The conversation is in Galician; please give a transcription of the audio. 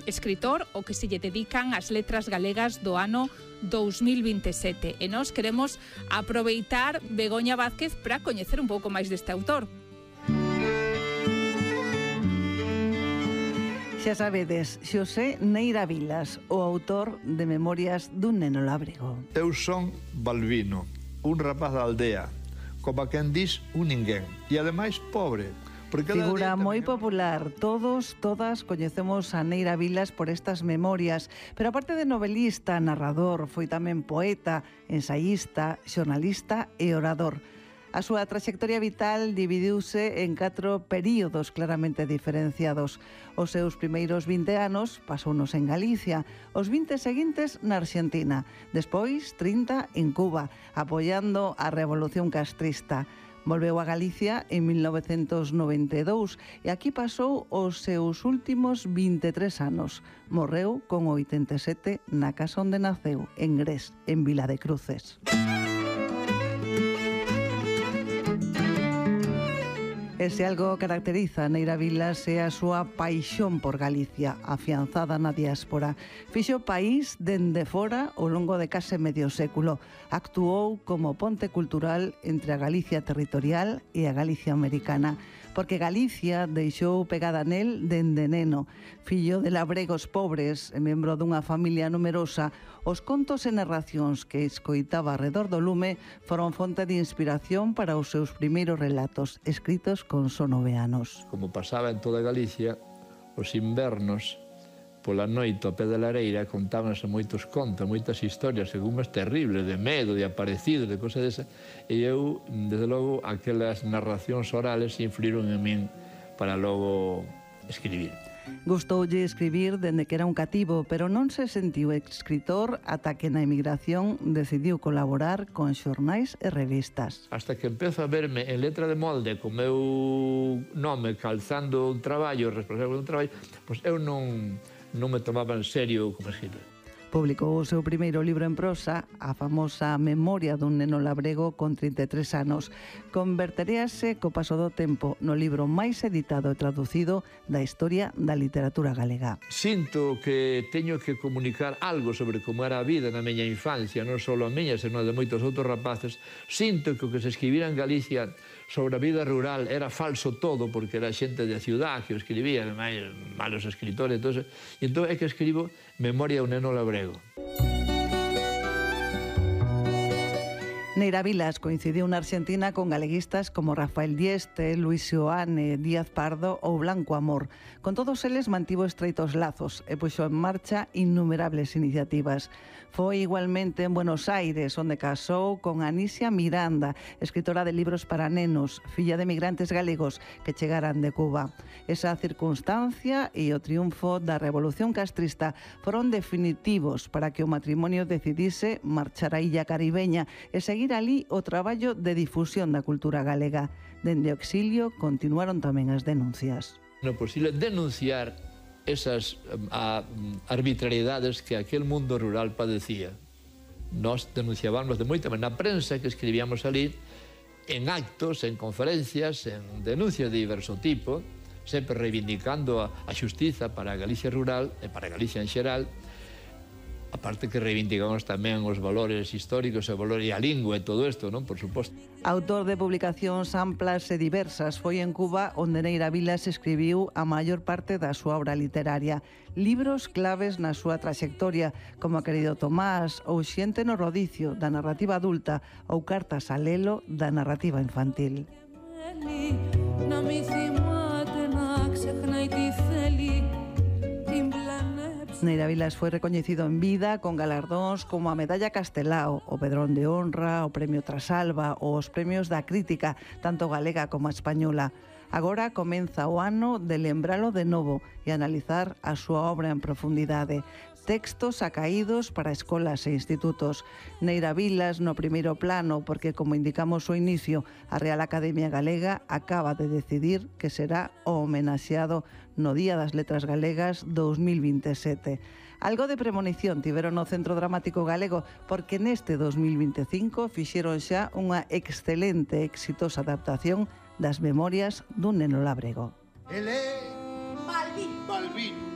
escritor o que se lle dedican as letras galegas do ano 2027. E nós queremos aproveitar, Begoña Vázquez, para coñecer un pouco máis deste autor. Xa sabedes, Xosé Neira Vilas, o autor de Memorias dun neno lábrego. Eu son Balbino, un rapaz da aldea, como a quen dis un ninguén, e ademais pobre. Figura moi popular, todas coñecemos a Neira Vilas por estas memorias, pero aparte de novelista, narrador, foi tamén poeta, ensaísta, xornalista e orador. A súa traxectoria vital dividiuse en 4 períodos claramente diferenciados. Os seus primeiros 20 anos pasounos en Galicia, os 20 seguintes na Argentina, despois 30 en Cuba, apoiando a Revolución Castrista. Volveu a Galicia en 1992 e aquí pasou os seus últimos 23 anos. Morreu con 87 na casa onde naceu, en Gres, en Vila de Cruces. E se algo caracteriza a Neira Vilas é a súa paixón por Galicia, afianzada na diáspora. Fixo país dende fora ao longo de case medio século. Actuou como ponte cultural entre a Galicia territorial e a Galicia americana, porque Galicia deixou pegada nel dende neno. Fillo de labregos pobres e membro dunha familia numerosa, os contos e narracións que escoitaba arredor do lume foron fonte de inspiración para os seus primeiros relatos, escritos con só 9 anos. Como pasaba en toda Galicia, os invernos, pola noite ao pé da lareira, contábanse moitos contos, moitas historias, algunhas terribles, de medo, de aparecidos, de cosas desa, e eu, desde logo, aquelas narracións orales influíron en min para logo escribir. Gustoulle escribir dende que era un cativo, pero non se sentiu escritor ata que na emigración decidiu colaborar con xornais e revistas. Hasta que empezo a verme en letra de molde co meu nome calzando un traballo, responsable dun traballo, pois eu non me tomaba en serio como escritor. Publicou o seu primeiro libro en prosa, a famosa Memoria dun neno labrego con 33 anos. Converteríase co paso do tempo no libro máis editado e traducido da historia da literatura galega. Sinto que teño que comunicar algo sobre como era a vida na miña infancia, non só a miña, senón de moitos outros rapaces. Sinto que o que se escribira en Galicia sobre a vida rural era falso todo, porque era xente de ciudad que o escribía, ademais malos escritores, e entón é que escribo Memoria dun neno labrego. Neira Vilas coincidiu na Argentina con galeguistas como Rafael Dieste, Luis Seoane, Díaz Pardo ou Blanco Amor. Con todos eles mantivo estreitos lazos e puxo en marcha innumerables iniciativas. Foi igualmente en Buenos Aires, onde casou con Anisia Miranda, escritora de libros para nenos, filla de migrantes galegos que chegaran de Cuba. Esa circunstancia e o triunfo da Revolución Castrista foron definitivos para que o matrimonio decidise marchar á illa caribeña e seguir ali o traballo de difusión da cultura galega. Dende o exilio continuaron tamén as denuncias. Non é posible denunciar esas arbitrariedades que aquel mundo rural padecía. Nos denunciábamos de moita na prensa que escribíamos ali, en actos, en conferencias, en denuncias de diverso tipo, sempre reivindicando a xustiza para a Galicia rural e para a Galicia en xeral, aparte que reivindicamos tamén os valores históricos, o valor e a lingua e todo isto, non? Por suposto. Autor de publicacións amplas e diversas, foi en Cuba onde Neira Vilas escribiu a maior parte da súa obra literaria. Libros claves na súa traxectoria, como A querido Tomás, ou Xente no rodicio, da narrativa adulta, ou Cartas a Lelo, da narrativa infantil. Neira Vilas foi recoñecido en vida con galardóns como a Medalla Castelao, o Pedrón de Honra, o Premio Trasalba ou os premios da crítica, tanto galega como española. Agora comeza o ano de lembralo de novo e analizar a súa obra en profundidade. Textos acaídos para escolas e institutos. Neira Vilas no primeiro plano, porque, como indicamos ao inicio, a Real Academia Galega acaba de decidir que será o homenaxeado no Día das Letras Galegas 2027. Algo de premonición tiveron no Centro Dramático Galego, porque neste 2025 fixeron xa unha excelente e exitosa adaptación das Memorias dun neno labrego. Balbín.